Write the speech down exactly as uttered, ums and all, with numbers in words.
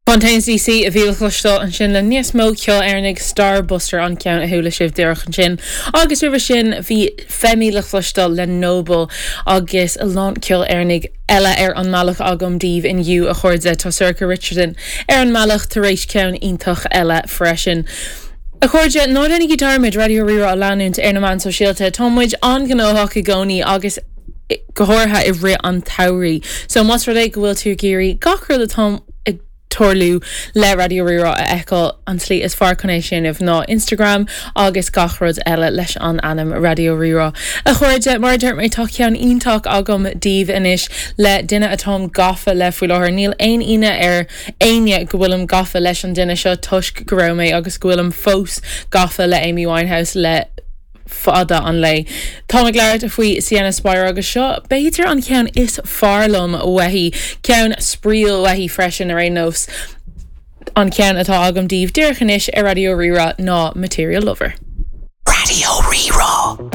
Fontaines DC a bhí le cloisteáil ansin le níos mó ceoil Éireannaigh Starbuster an ceann a chuala sibh díreach ansin. Agus roimhe sin bhí Femi le cloisteáil le Noble agus a lán ceoil Éireannaigh eile ar an mbealach agam daoibh inniu a chairde tá Sorcha Richardson ar an mbealach tar éis ceann iontach eile freisin. A chairde ná déanaigí dearmad Raidió Rí-Rá a leanúint ar na meáin sóisialta Tá muid an-ghnóthach i gcónaí agus go háirithe i rith an tsamhraidh. So más rud é go bhfuil tú ag iarraidh gach rud atá ag tarlú le Raidió Rí-Rá a fheiceáil an tslí is fearr chun é sin ná Instagram agus gach rud eile leis an ainm Raidió Rí-Rá. A chairde mar deir mé tá ceann iontach agam daoibh anois le duine atáim gafa le faoi láthair níl aon ionadh ar éinne go bhfuilim gafa leis an duine seo toisc go raibh mé agus go bhfuilim fós gafa le Amy Winehouse le fada an lá. Tá ag labhairt faoi Sienna Spiro agus seo b'fhéidir an ceann is fearr liom uaithi ceann spraíúil uaithi freisin ar aon nós. An ceann atá agam daoibh díreach anois ar Raidió Rí-Rá ná Material Lover. Raidió Rí-Rá.